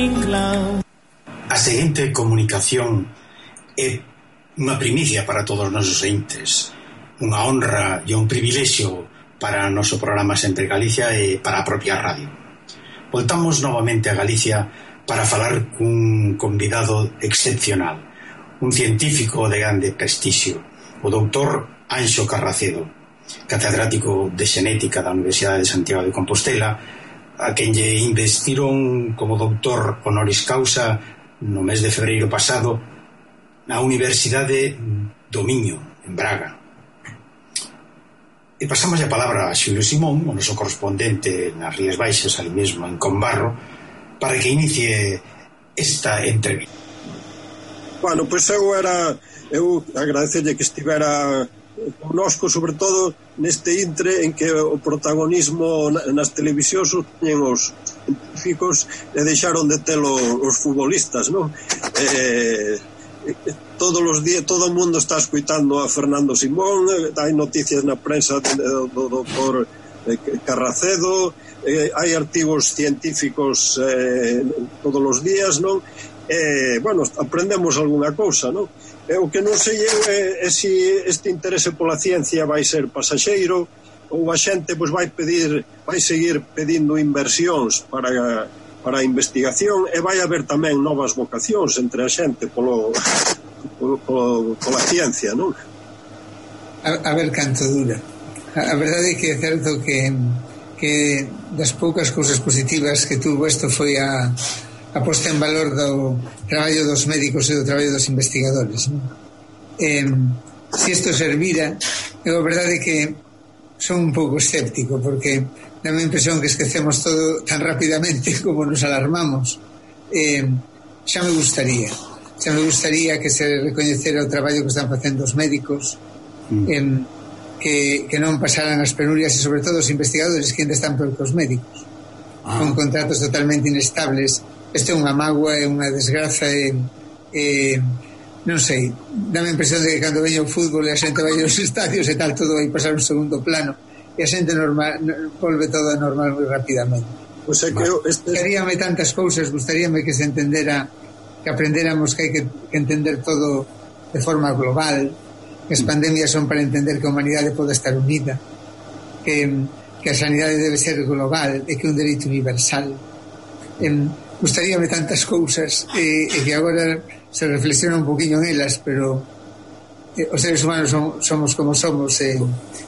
A seguinte comunicación é unha primicia para todos os nosos entes, unha honra e un privilexio para o noso programa Sempre Galicia e para a propia radio. Voltamos novamente a Galicia para falar cun convidado excepcional, un científico de grande prestixio, o doutor Anxo Carracedo, catedrático de Xenética da Universidade de Santiago de Compostela, a quen lle investiron como doutor honoris causa no mes de febreiro pasado na Universidade do Miño, en Braga. E pasamos a palabra a Xulio Simón, o noso correspondente nas Rías Baixas, ali mesmo en Combarro, para que inicie esta entrevista. Bueno, pois eu agradecerlle que estivera connosco, sobre todo neste intre en que o protagonismo nas televisións teñen os científicos e deixaron de telo os futbolistas, non? Todos os días todo o mundo está escuitando a Fernando Simón, hai noticias na prensa do doutor Carracedo, hai artigos científicos todos os días, non? Bueno, aprendemos algunha cousa, non? O que non sei é se este interese pola ciencia vai ser pasaxeiro ou a xente pois vai seguir pedindo inversións para a investigación e vai haber tamén novas vocacións entre a xente pola ciencia, non? A ver canto dura. A verdade é que é certo que das poucas cousas positivas que tuvo isto foi a posta en valor do traballo dos médicos e do traballo dos investigadores, non? Se isto servira, a verdade é que son un pouco escéptico, porque dá-me a impresión que esquecemos todo tan rapidamente como nos alarmamos. Xa me gustaría que se recoñecera o traballo que están facendo os médicos, que non pasaran as penurias, e sobre todo os investigadores que ainda están peor que os médicos, con contratos totalmente inestables. Isto é unha mágoa, é unha desgraza, non sei, dá-me a impresión de que cando veña o fútbol e a xente vai aos estadios e tal, todo vai pasar un segundo plano e a xente volve todo a normal moi rapidamente. Pois é que gustaríame tantas cousas, gustaríame que se entendera, que aprendéramos que hai que entender todo de forma global, que as pandemias son para entender que a humanidade pode estar unida, que a sanidade debe ser global e que é un dereito universal. Gustaríame tantas cousas e que agora se reflexiona un poquinho en elas, pero os seres humanos somos como somos,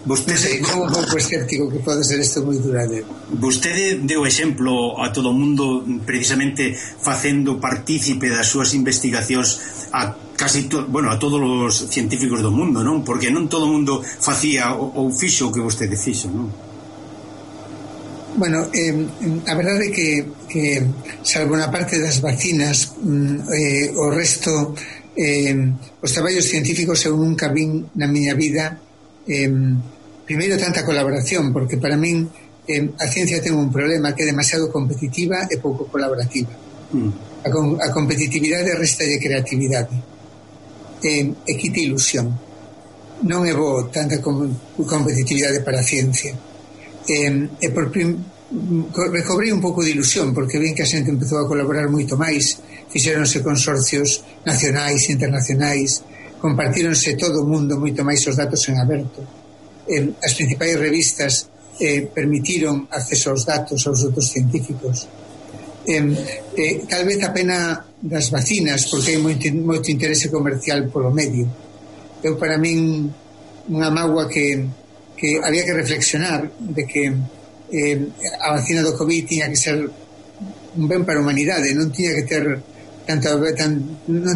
vostede, como un pouco escéptico que pode ser isto moi duradeiro. Vostede deu exemplo a todo o mundo precisamente facendo partícipe das súas investigacións a todos os científicos do mundo, non? Porque non todo o mundo facía ou fixo o que vostede fixo, non? Bueno, a verdade é que salvo na parte das vacinas, o resto, os traballos científicos eu nunca vin na miña vida primeiro tanta colaboración, porque para min a ciencia ten un problema, que é demasiado competitiva e pouco colaborativa. A competitividade resta de creatividade e quita ilusión. Non é bo tanta competitividade para a ciencia. Recobrei un pouco de ilusión, porque ven que a xente empezou a colaborar moito máis, fixéronse consorcios nacionais e internacionais, compartíronse todo o mundo moito máis os datos en aberto. As principais revistas permitiron acceso aos datos aos outros científicos. Tal vez a pena das vacinas, porque hai moito interese comercial polo medio. Para min unha mágoa que había que reflexionar de que a vacina do COVID tiña que ser un ben para a humanidade, non tiña que ter non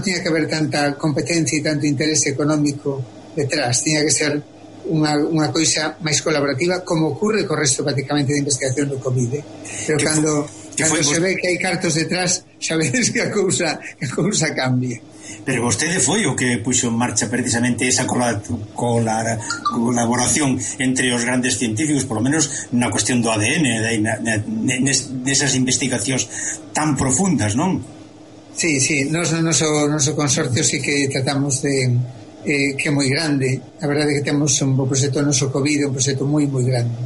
tiña que haber tanta competencia e tanto interese económico detrás, tiña que ser unha coisa máis colaborativa, como ocurre co resto prácticamente de investigación do COVID, pero cando se ve que hai cartos detrás, sabedes que a cousa cambia. Pero vostede foi o que puxo en marcha precisamente esa colaboración entre os grandes científicos, polo menos na cuestión do ADN, nesas investigacións tan profundas, non? Sí, nos no noso consorcio sí que tratamos de que é moi grande. A verdade é que temos un proxecto noso COVID, un proxecto moi grande.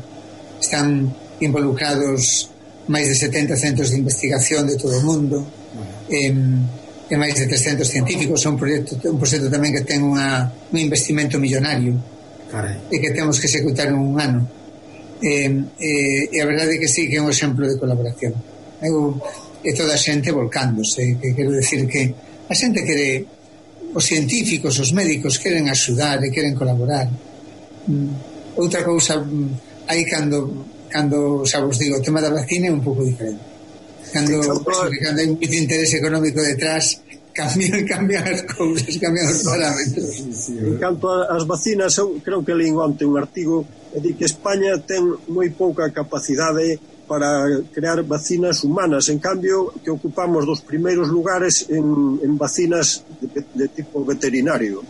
Están involucrados máis de 70 centros de investigación de todo o mundo, e máis de 300 científicos. É un proxecto tamén que ten un investimento millonario. Carai. E que temos que executar en un ano. E a verdade é que sí que é un exemplo de colaboración. E toda a xente volcándose, que quero decir que a xente quere, os científicos, os médicos queren axudar e queren colaborar. Outra cousa aí cando xa vos digo, o tema da vacina é un pouco diferente. Cando hai moito interés económico detrás, cambian as cousas, cambian os parámetros. En canto ás vacinas, eu creo que leí onte un artigo que di que España ten moi pouca capacidade para crear vacinas humanas, en cambio que ocupamos dos primeiros lugares en vacinas de tipo veterinario.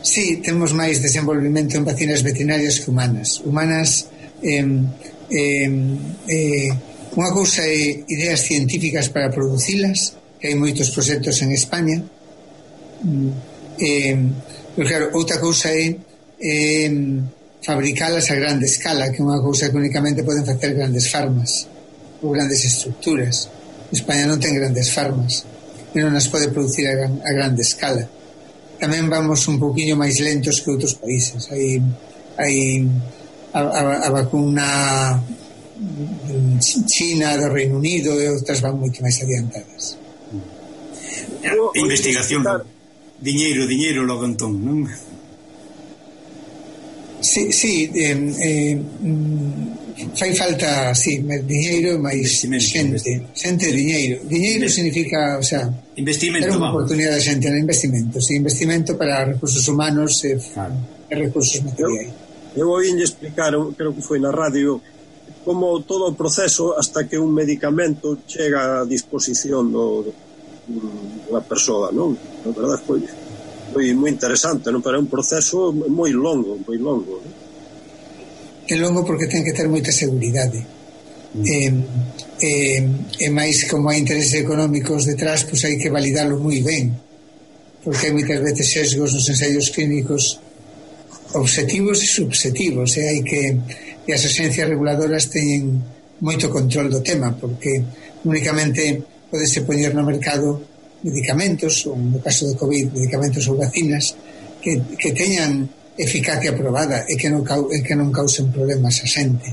Sí, temos máis desenvolvimento en vacinas veterinarias que humanas. Unha cousa é ideas científicas para producilas, que hai moitos proxectos en España, pero claro, outra cousa é fabricalas a grande escala, que é unha cousa que únicamente poden facer grandes farmas ou grandes estructuras. España non ten grandes farmas e non as pode producir a grande escala. Tamén vamos un pouquiño máis lentos que outros países. Hai a vacuna China, do Reino Unido e outras van moito máis adiantadas. Investigación, diñeiro logo entón, non? Sí, fai falta, diñeiro máis xente diñeiro significa, o sea, investimento, era unha oportunidade de xente no investimento, investimento para recursos humanos e recursos materiais. Eu oínlle explicar, creo que foi na radio, como todo o proceso hasta que un medicamento chega a disposición da persoa, non? Na verdade foi moi interesante, non? Pero é un proceso moi longo, non? É longo porque ten que ter moita seguridade. E máis como hai intereses económicos detrás, pois hai que validalo moi ben, porque hai moitas veces sesgos nos ensaios clínicos obxectivos e subxectivos, e as agencias reguladoras teñen moito control do tema, porque únicamente podese poñer no mercado medicamentos, ou no caso de COVID, medicamentos ou vacinas que teñan eficacia aprobada e que non causen problemas a xente.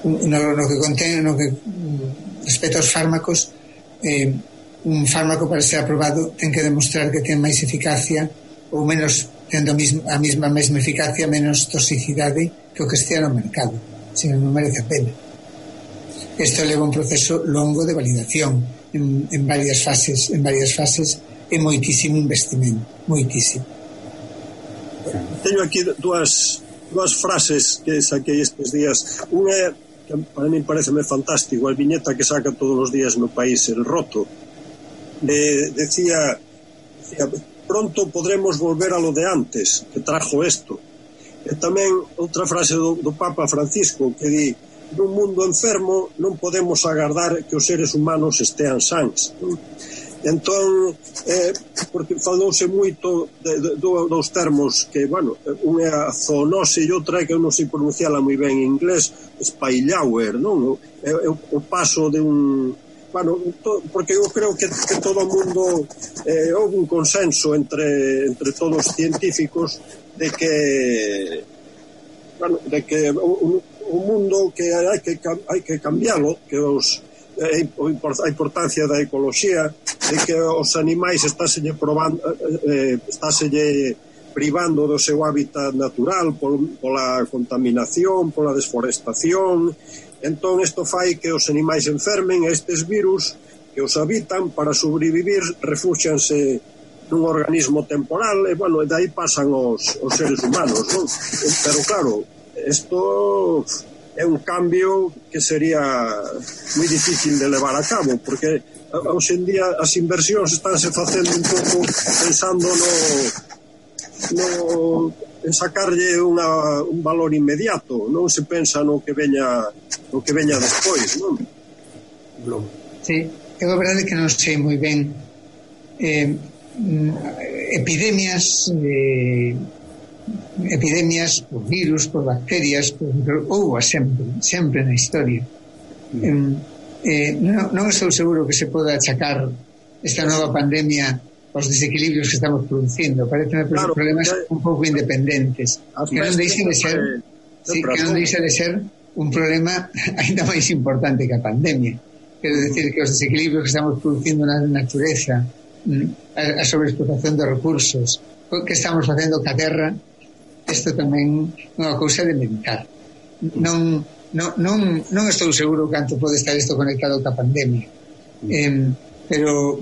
No que respecto aos fármacos, un fármaco para ser aprobado ten que demostrar que ten máis eficacia ou menos, tendo a mesma eficacia, menos toxicidade que o que estea no mercado, senón non merece a pena. Isto leva un proceso longo de validación en varias fases e moitísimo investimento, moitísimo. Teño aquí dúas frases que saquei estes días. Unha que para mí pareceme fantástico, a viñeta que saca todos os días no País, El Roto, decía pronto podremos volver a lo de antes, que trajo esto. E tamén outra frase do Papa Francisco que di: nun mundo enfermo non podemos agardar que os seres humanos estean sans. Entón, porque falouse moito dos termos que, bueno, unha é a zoonose e outra que eu non sei pronunciala moi ben en inglés, spillover, non? O paso de un... Bueno, porque eu creo que todo o mundo houve un consenso entre todos os científicos de que o mundo que hai que cambialo, que a importancia da ecoloxía, de que os animais estáselle privando do seu hábitat natural pola contaminación, pola desforestación. Entón isto fai que os animais enfermen, e estes virus que os habitan para sobrevivir refúxianse nun organismo temporal e, bueno, de aí pasan os seres humanos, non? Pero claro, isto é un cambio que sería moi difícil de levar a cabo, porque hoxe en día as inversións estánse facendo un pouco pensando en sacarlle un valor inmediato, non se pensa no que veña despois, non? Sí, é a verdade que non sei moi ben epidemias por virus, por bacterias, houve sempre na historia. Non estou seguro que se poda achacar esta nova pandemia aos desequilibrios que estamos producindo. Pareceme problemas un pouco independentes, que non deixa de ser que non deixa de ser un problema ainda máis importante que a pandemia. Quero decir que os desequilibrios que estamos producindo na natureza, a sobreexplotación de recursos que estamos facendo ca terra, isto tamén é unha cousa de meditar. Non estou seguro canto pode estar isto conectado ca pandemia, pero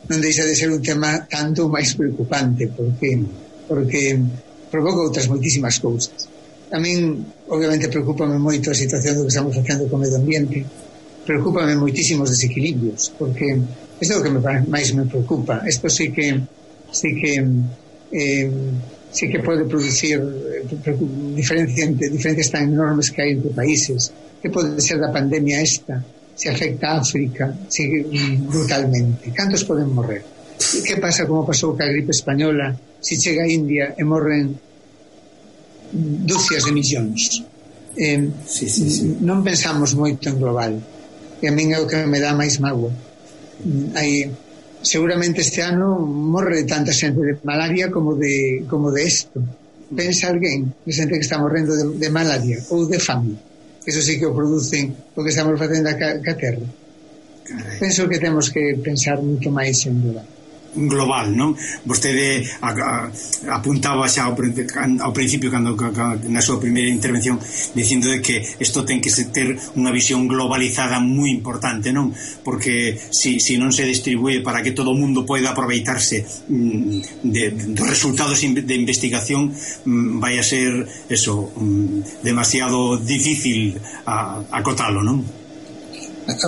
non deixa de ser un tema tanto máis preocupante porque provoca outras moitísimas cousas. A min obviamente preocúpame moito a situación do que estamos facendo co medio ambiente, preocúpame moitísimos desequilibrios, porque isto é o que máis me preocupa. Isto sí que pode producir diferencias tan enormes que hai entre países. Que pode ser da pandemia esta? Se afecta a África brutalmente. Cantos poden morrer? Que pasa como pasou ca gripe española? Se chega a India e morren dúcias de millóns. Non pensamos moito en global, e a min é o que me dá máis mágoa. Seguramente este ano morre tanta xente de malaria como de isto. Pensa alguén de xente que está morrendo de malaria ou de fame. Eso sí que o producen o que estamos facendo ca terra. Penso que temos que pensar moito máis en global, non? Vostede apuntaba xa ao principio cando na súa primeira intervención dicindo de que isto ten que ter unha visión globalizada moi importante, non? Porque si non se distribúe para que todo o mundo poida aproveitarse dos resultados de investigación, vai a ser eso, demasiado difícil acotalo, non?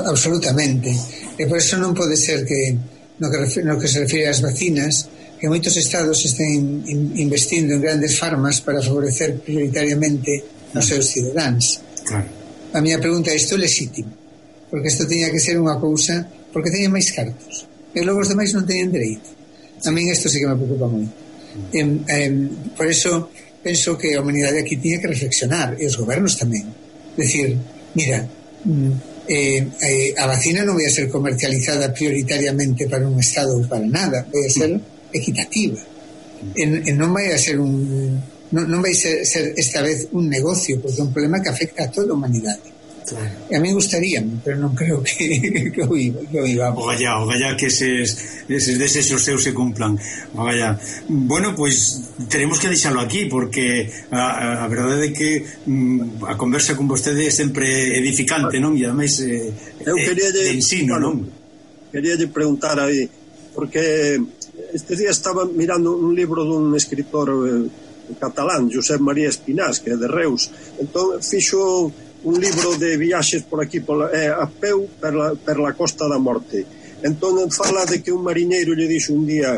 Absolutamente. E por eso non pode ser que no que se refire ás vacinas, que moitos estados estén investindo en grandes farmas para favorecer prioritariamente os seus cidadáns. Claro. A miña pregunta é: isto é legítimo? Porque isto teña que ser unha cousa porque teñen máis cartos e logo os demais non teñen dereito. A min isto sí que me preocupa moito. Por eso penso que a humanidade aquí tiña que reflexionar, e os gobernos tamén, decir, mira, a vacina non vai a ser comercializada prioritariamente para un estado ou para nada, vai a ser equitativa, e non vai a ser non vai ser esta vez un negocio, porque é un problema que afecta a toda a humanidade. E a mí gustaríame, pero non creo que o iba. Ogallá que eses desexos seus se cumplan. Ogallá. Bueno, pois teremos que deixalo aquí, porque a verdade é que a conversa con vostede é sempre edificante, non? E ademais de ensino, non? Queríalle preguntar aí, porque este día estaba mirando un libro dun escritor catalán, Josep María Espinás, que é de Reus. Entón fixo un libro de viaxes por aquí a peu per la Costa da Morte. Entón fala de que un mariñeiro lle dixo un día,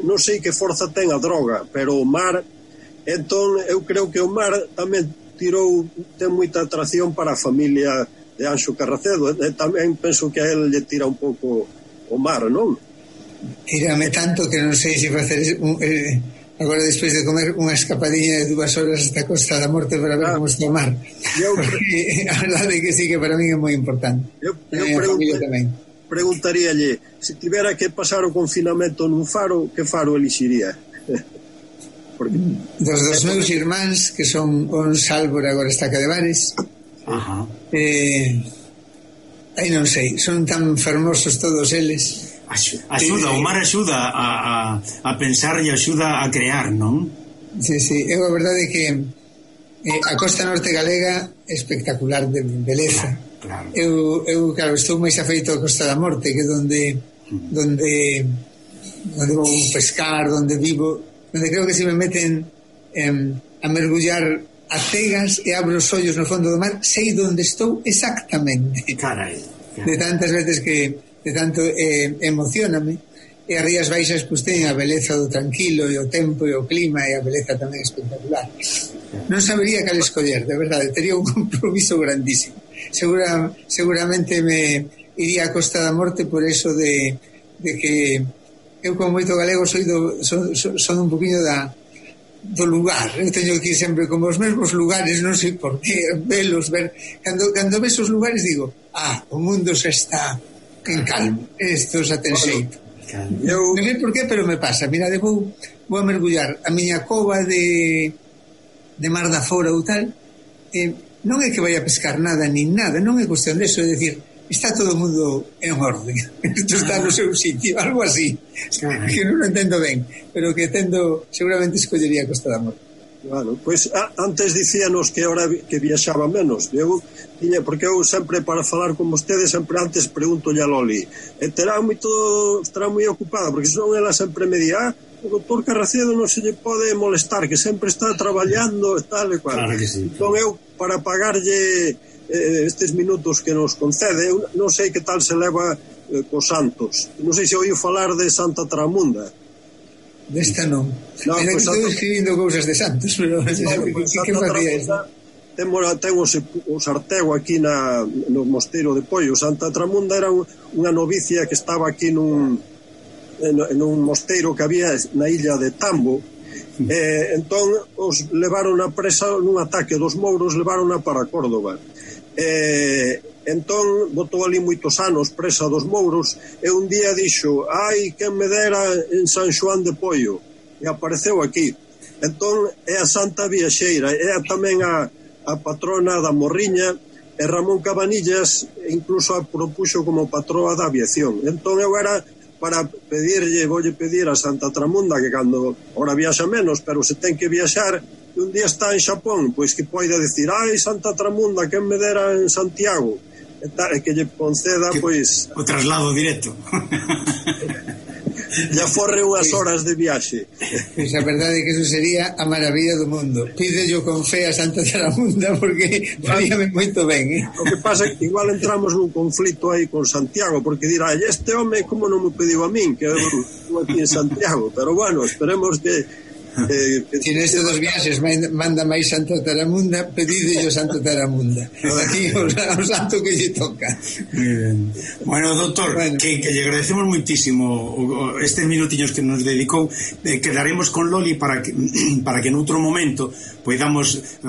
non sei que forza ten a droga, pero o mar, entón eu creo que o mar tamén ten moita atracción para a familia de Anxo Carracedo, e tamén penso que a él lle tira un pouco o mar, non? Tírame tanto que non sei se facer agora despois de comer unha escapadinha de 2 horas hasta a Costa da Morte para ver como está o mar, porque a verdade é que sí, que para mí é moi importante. Eu preguntaríalle, se tivera que pasar o confinamento nun faro, que faro elixiría? Dos meus irmáns, que son un Sálvora, agora está Cadevares. Aí non sei, son tan fermosos todos eles. O mar axuda a pensar e axuda a crear, non? Sí, a verdade é que a costa norte galega é espectacular de beleza. Claro. Eu claro, estou máis afeito a Costa da Morte, que donde vou pescar, donde vivo, donde creo que se me meten a mergullar a cegas e abro os ollos no fondo do mar, sei onde estou exactamente. Carai. De tantas veces que de tanto emocioname, e as Rías Baixas pois teñen a beleza do tranquilo e o tempo e o clima e a beleza tamén espectacular. Non sabería cal escoller, de verdade, tería un compromiso grandísimo. Seguramente me iría a Costa da Morte por eso de que eu como moito galego son un poquinho do lugar. Eu teño que ir sempre como os mesmos lugares, non sei por qué, velos, ver. Cando ves os lugares digo, o mundo xa está en calmo, isto xa ten xeito. Non sei por qué, pero me pasa. Mirade, vou a mergullar a miña cova de Mar da Fora ou tal, non é que vai a pescar nada nin nada, non é cuestión de eso, é dicir, está todo o mundo en orden, isto está no seu sitio, algo así, que non o entendo ben, pero que seguramente escollería Costa da Morte. Claro, pois antes dicíanos que ahora que viaxaba menos, porque eu sempre para falar con vostedes sempre antes pregunto a Loli, estará moi ocupada, porque senón ela sempre me di, o doutor Carracedo non se lle pode molestar, que sempre está traballando e tal e cual. Claro que sí. Entón eu, para pagarlle estes minutos que nos concede, eu non sei que tal se leva cos santos, non sei se oíu falar de Santa Tramunda. Desta non. Mira que estou escribindo cousas de santos, pero que facía isto? Ten o sartego aquí no mosteiro de Poio. Santa Tramunda era unha novicia que estaba aquí nun mosteiro que había na illa de Tambo. Entón os levaron a presa nun ataque dos mouros, levaron para Córdoba. Entón botou ali moitos anos presa dos mouros e un día dixo, quen me dera en San Xoán de Poio, e apareceu aquí. Entón é a Santa Viaxeira, é tamén a patrona da Morriña, e Ramón Cabanillas incluso a propuxo como patroa da aviación. Entón eu era para voulle pedir a Santa Tramunda que cando ora viaxa menos, pero se ten que viaxar un día está en Xapón, pois que poida decir, Santa Tramunda, quen me dera en Santiago, e que lle conceda, pois... O traslado directo. E aforre unhas horas de viaxe. Pois a verdade é que eso sería a maravilla do mundo. Pídello con fe a Santa Tramunda, porque faríame moito ben, O que pasa é que igual entramos nun conflito aí con Santiago, porque dirá, este home como non me pediu a min, que eu aquí en Santiago, pero bueno, esperemos que si neste dos viaxes manda máis Santa Taramunda, pedídello Santa Taramunda aquí o santo que lle toca. Bueno, doctor, que lle agradecemos muitísimo estes minutiños que nos dedicou. Quedaremos con Loli para que noutro momento podamos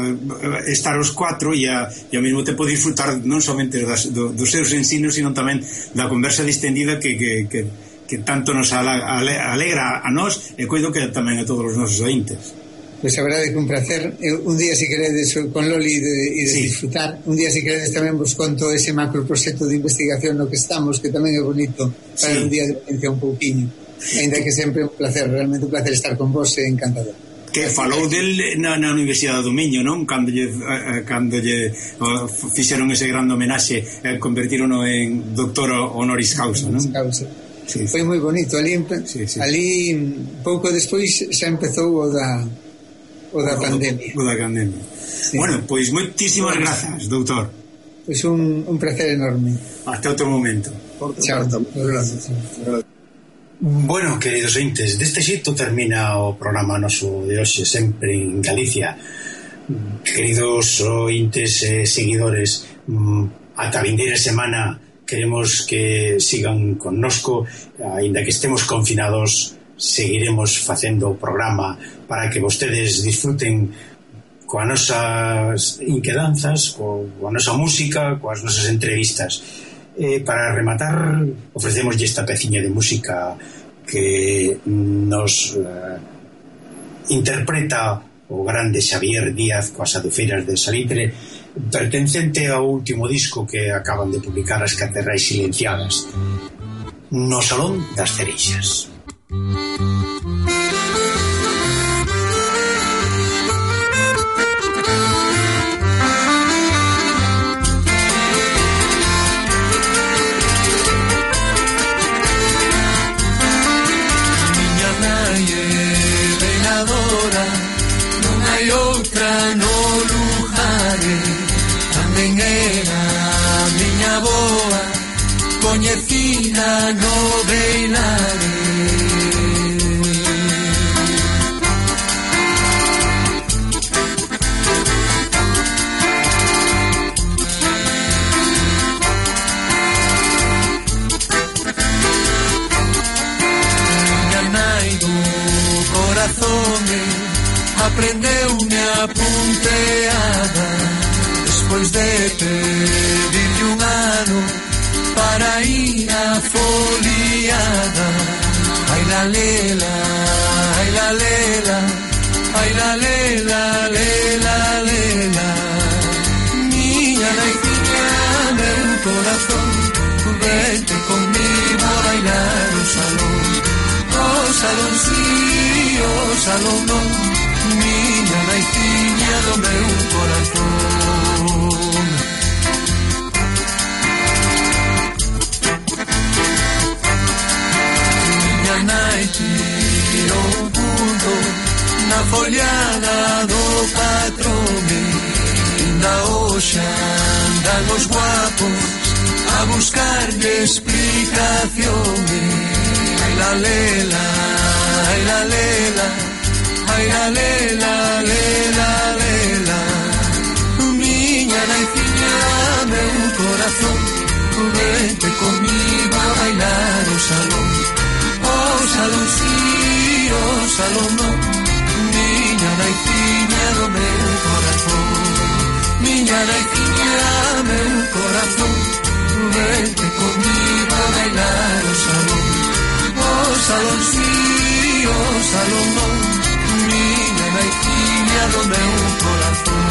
estar os cuatro e ao mesmo tempo disfrutar non somente dos seus ensinos, sino tamén da conversa distendida que tanto nos alegra a nós e coido que tamén a todos os nosos ointes. Pois a verdade é que un placer. Un día se queredes con Loli de disfrutar, un día se queredes tamén vos conto ese macro proxecto de investigación no que estamos, que tamén é bonito para un día de ponencia un pouquiño, ainda que sempre un placer, realmente un placer estar con vos, e encantador. Que falou del na Universidade do Miño, non? Cando lle fixeron ese grande homenaxe e convertirono en doctor honoris causa, non? Sí. Foi moi bonito ali pouco despois xa empezou o da pandemia. Sí. Bueno, pois moitísimas grazas, doutor. Pois un placer enorme. Hasta outro momento. Chao. Bueno, queridos ointes, deste xeito termina o programa noso de hoxe, sempre en Galicia. Queridos ointes e seguidores, ata a vindeira semana queremos que sigan connosco, aínda que estemos confinados, seguiremos facendo o programa para que vostedes disfruten coas nosas inquedanzas, coa nosa música, coas nosas entrevistas. Para rematar, ofrecemoslle esta peciña de música que nos interpreta o grande Xavier Díaz coas Adufeiras de Salitre, pertencente ao último disco que acaban de publicar as Caterrais Silenciadas, No Salón das Cereixas. Miña nai é veladora, non hai outra no lugar. Tamén era a miña boa, coñecina no Beilare. Miña nai do corazón, a aprendeume a punteada despois de pedirlle un ano para ir a foliada. Ai la lela, ai la lela, ai la lela, lela, lela. Miña naiciña, meu corazón, vente conmigo a bailar o salón. O salón sí, o salón non, miña naiciña do meu corazón. Miña nai tirou un punto na foliada do patrón. Inda hoxe andan os guapos a buscarlle explicaciones. Ai la lela, ai la lela, ai la lela, lela, lela. Miña naiciña, meu corazón, vente comigo a bailar o salón. O salón sí, o salón non, miña naiciña do meu corazón. Miña naiciña, meu corazón, vente comigo a bailar o salón. O salón sí, o salón non, miña naiciña do meu corazón.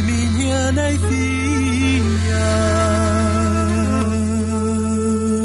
Miña nai